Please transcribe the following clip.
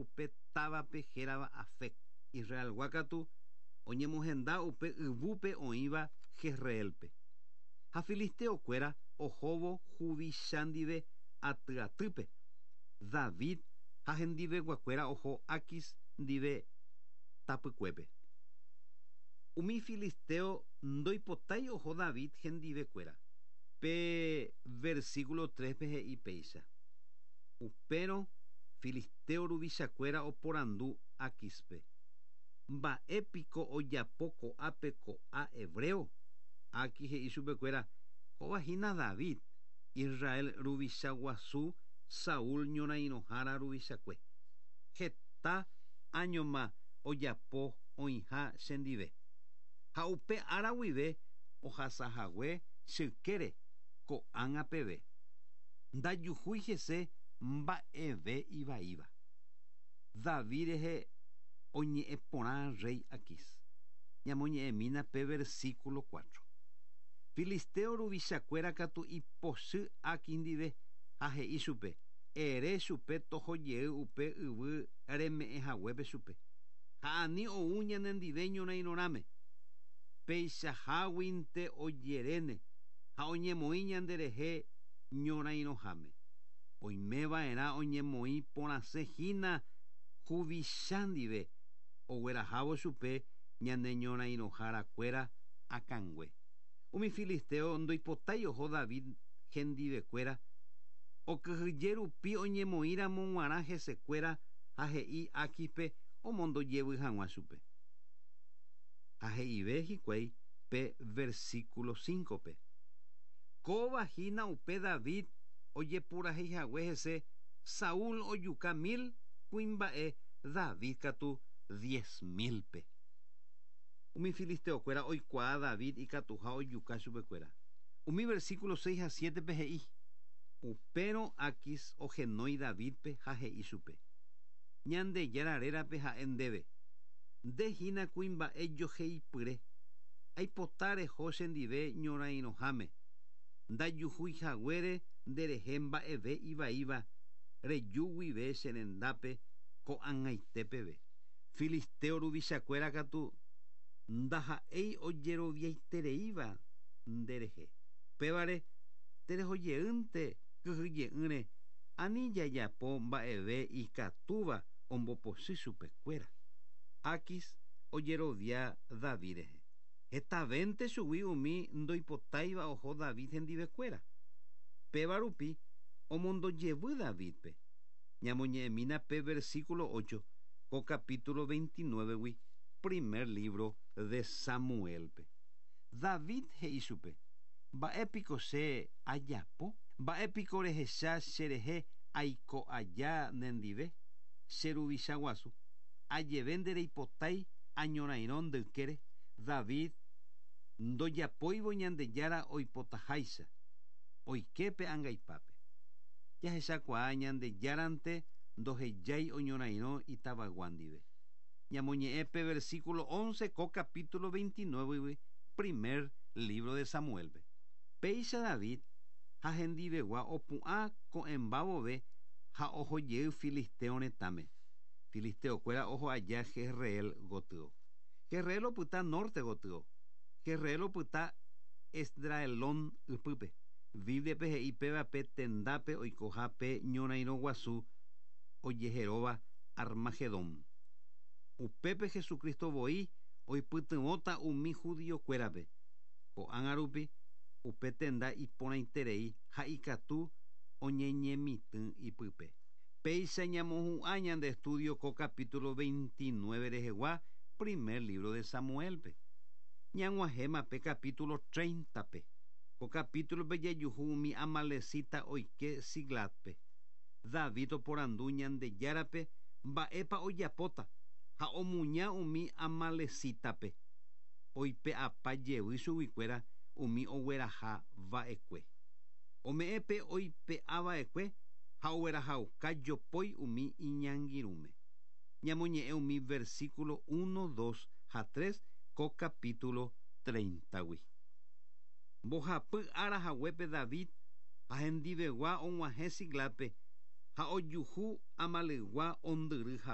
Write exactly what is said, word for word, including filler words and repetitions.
upe távape hérava Afec. Israelgua katu oñemohenda upe yvúpe oĩva Jezreelpe. Ha filisteokuéra ohóvo huvicha ndive atyatýpe. David ha hendiveguakuéra oho Aquis ndive tapykuépe. Umi filisteo ndoipotái oho David hendivekuéra. Pe versículo tres-pe he'i péicha. Upérõ filisteo ruvichakuéra oporandu Aquispe. Mba'épiko ojapo ko'ápe ko'ã hebreo. Aquis he'i chupekuéra kóva hína David, Israel ruvicha guasu, Saúl ñorairõhára ruvichakue. Heta áñoma ojapo oĩha chendive. Ha upe ára guive ohasahague chykére ko'ág̃a peve. Ndajuhúi hese mba'eve ivaíva. David rehe oñe'ẽ porã rey Aquis. Ñamoñe'ẽmína pe versículo cuatro. Filisteo ruvichakuéra katu ipochy Aquis ndive ha he'i chupe. Ere chupe tohojey upe yvy reme'ẽhaguépe chupe. Ha ani ou ñanendive ñorairõrãme. Peichaháguinte ojeréne ha oñemoĩ ñanderehe ñorairõháme. Oimeva'erã oñemoĩ porãse hína huvicha ndive oguerahávo chupe ñane ñorairõharakuéra akãngue. Umi filisteo ndoipotái oho David hendivekuéra okyhyje rupi oñemoĩramo g̃uarã hesekuéra ha he'i Aquispe omondojevy hag̃ua chupe. Ha he'ive hikuái pe versículo cinco-pe. Kóva hína upe David ojepurahéihague hese Saúl ojuka mil kuimba'e David katu diez mil-pe. Umi filisteokuéra oikuaa David ikatuha ojuka chupekuéra. Umi versículo seis ha siete-pe he'i. Upérõ Aquis ohenói Davidpe ha he'i chupe. Ñandejára rérape ha'e ndéve. Nde hína kuimba'e joheipyre. Aipota reho chendive ñorairõháme. Ndajuhúihaguére nderehe mba'eve ivaíva reju guive che rendápe ko'ag̃aite peve. Filisteo ruvichakuéra katu ndaha'éi ojeroviaitereíva nderehe. Pévare terehojeýnte kyhyje'ỹre ani jajapo mba'eve ikatúva ombopochy chupekuéra. Aquis ojerovia David rehe. Hetavénte chugui umi ndoipotáiva oho David hendivekuéra. Péva rupi omondojevy Davidpe. Ñamoñe'ẽmína pe versículo ocho ko capítulo veintinueve-gui primer libro de Samuelpe. David he'i chupe. Mba'épiko che ajapo? Mba'épiko rehecha cherehe aiko aja nendive? Che ruvicha guasu. Ajeve ndereipotái añorairõ ndykére. David ndojapóivo Ñandejára oipotaháicha. Oiképe angaipápe. Jahechakuaa Ñandejárante ndohejái oñorairõ itavagua ndive. Ñamoñe'ẽ pe versículo once ko capítulo veintinueve primer libro de Samuelpe. Péicha David ha hendivegua opu'ã ko'ẽmbavove ha ohojey filisteo retãme. Filisteokuéra oho aja Jezreel gotyo. Jezreel opyta norte gotyo. Jezreel opyta Esdraelón ypýpe. Bíbliape he'i péva pe tendápe oikohápe ñorairõ guasu ojeheróva Armagedón. Upépe Jesucristo voi oipytyvõta umi judiokuérape. Ko'ág̃a rupi upe tenda iporãiterei ha ikatu oñeñemitỹ ipype. Péicha ñamohu'ã ñande estudio ko capítulo veintinueve rehegua primer libro de Samuelpe. Ñag̃uahẽma pe capítulo treinta-pe. Ko capítulo-pe jajuhu umi amalecita oike Siclagpe. David oporandu Ñandejárape mba'épa ojapóta ha omuña umi amalecitape. Oipe'apa jevy chuguikuéra umi ogueraha va'ekue. Ome'ẽpe oipe'a va'ekue ha oguerahauka jopói umi iñangirũme. Ñamoñe'ẽ umi versículo uno, dos ha tres ko capítulo treinta-gui. Mbohapy ára haguépe David ha hendivegua og̃uahẽ Siclagpe ha ojuhu amalygua ondyry